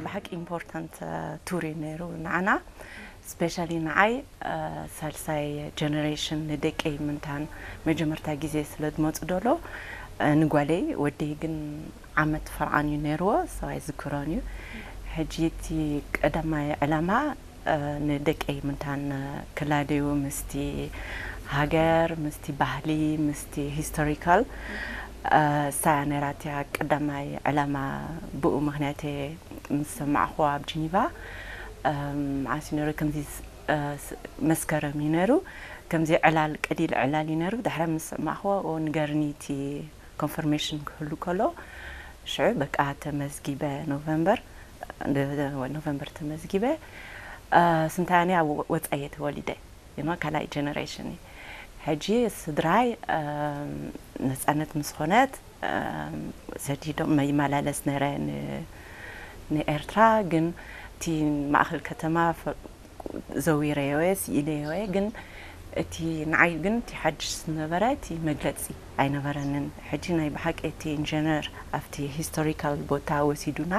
ብሓቂ ኢምፖርታንት ቱር እዩ ነይሩ ንዓና። ስፔሻሊ ንዓይ ሳልሳይ ጀነሬሽን ንደቀይ ምንታን መጀመርታ ግዜ ስለ ዝመፁ ደሎ ንጓለይ ወደይ ግን ዓመት ፈርዓን እዩ ነይርዎ ሰብኣይ ዝክሮን እዩ። ሕጂ እቲ ቀዳማይ ዕላማ ንደቀይ ምንታን ክላደዩ ምስቲ ሃገር ምስቲ ባህሊ ምስቲ ሂስቶሪካል እሳ ነራትያ ቀዳማይ ዕላማ ብኡ ምክንያት ምስ ሰማዕኹዋ ኣብ ጂኒቫ መዓስ ነሩ ከምዚ መስከረም እዩ ነሩ ከምዚ ዕላል ቀዲል ዕላል እዩ ነሩ ድሕረ ምስ ሰማዕኹዋ ንገርኒቲ ኮንፈርሜሽን ክህሉ ከሎ ሽዑ በቃ ተመዝጊበ ኖቨምበር ኖቨምበር ተመዝጊበ ስንታያኒ ኣብ ወፃየ ተወሊደ ካልኣይ ጀነሬሽን ሕጂ ስድራይ ነፃነት ምስ ኮነት ሰዲዶም ይመላለስ ነረ ንኤርትራ ግን እቲ ማእኸል ከተማ ዘዊረዮ እየ ስኢለዮ እየ ግን እቲ ንዓይ ግን እቲ ሓድሽ ዝነበረ እቲ መግለፂ ኣይነበረንን። ሕጂ ናይ ብሓቂ እቲ ኢንጀነር ኣብቲ ሂስቶሪካል ቦታ ወሲዱና